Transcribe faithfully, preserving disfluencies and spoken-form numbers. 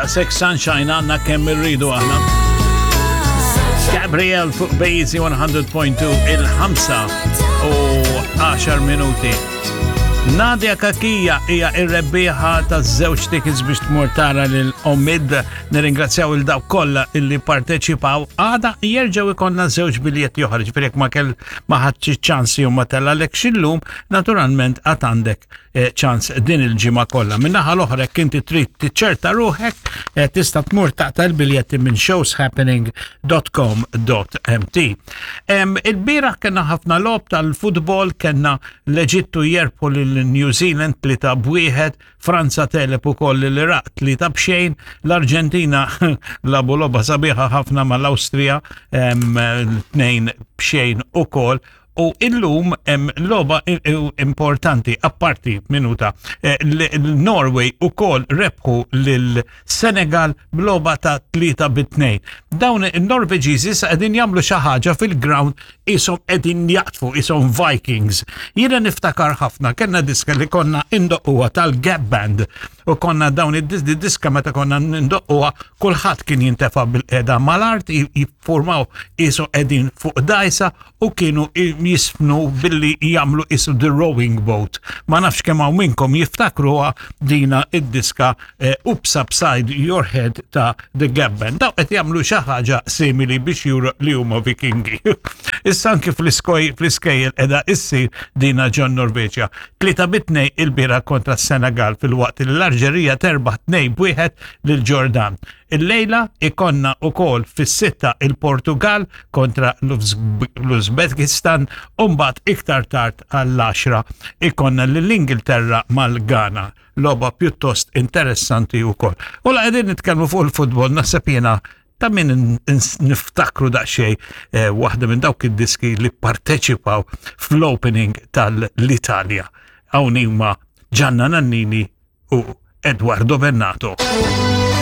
Daqshekk sunshine għandna kemm irridu aħna. Gabriel fuq Bejzi mija punt tnejn, il-ħamsa u għaxar minuti. Nadia Kakija hija ir-rebbieħa ta' żewġ tickets biex tmur tara lil Omid. Nirringrazzjaw lil dawk kollha illi parteċipaw. Għada jerġgħu ikollna żewġ biljetti oħra, ġifieri jekk ma kell ma ħadx ċans jew ma tellgħalekx illum, naturalment għad għandek eh, ċans din il-ġimgħa kollha. Min-naħa l-oħra, jekk inti trid tiċċerta ruħek, eh, tista' tmur taqta' l-biljetti minn showshappening punt com punt M T. Il-bieraħ kellna ħafna logħob tal-futbol, kellna l-Eġittu jerbħu lil New Zealand tlieta b'wieħed, Franza tegħleb ukoll l-Iraq tlieta b'xejn, l-Arġentina lagħbu logħba sabiħa ħafna mal-Awstrija tnejn b'xejn ukoll. U illum hemm logħba importanti, apparti minuta, eh, l-Norway ukoll rebħu lil Senegal b'logħba ta' tlieta bit-tnejn. Dawn il-Norveġiżi sa qegħdin jagħmlu xi ħaġa fil-ground, qishom qegħdin jaqtfu, qishom Vikings. Jiena niftakar ħafna, kellna diska li konna indoqquha tal-Gap Band u konna dawn id-diska meta konna ndoqquha kulħadd kien jintefa' bil-qeda mal-art, jiffurmaw qishom qegħdin fuq dajsa u kienu jiżfnu billi jagħmlu qisu the rowing boat. Ma nafx kemm hawn minnkom jiftakruha dina id-diska, eh, Oops Upside Your Head ta' The Gap Band. Daw qed jagħmlu xi ħaġa simili biex juru li huma Vikingi. Issa anki fl-iskoj fl-iskejjel qiegħda issir dina ġo Norveġja. Tlieta bit-tnejn il-bieraħ kontra Senegal, filwaqt li l-Alġerija terbaħ tnejn b'wieħed lil Ġordan. Il-lejla ikollna ukoll fis-sitta il-Portugal kontra l-Uzbekistan u mbagħad iktar tard għall-għaxra ikollna l-Ingilterra mal-Ghana. Logħba pjuttost interessanti ukoll. U la qegħdin nitkellmu fuq il-futbol, naħseb jiena ta' min niftakru daqsxejn eh, waħda minn dawk id-diski li parteċipaw fl-opening tal-Italja. Hawn huma Gianna Nannini u Edoardo Bennato.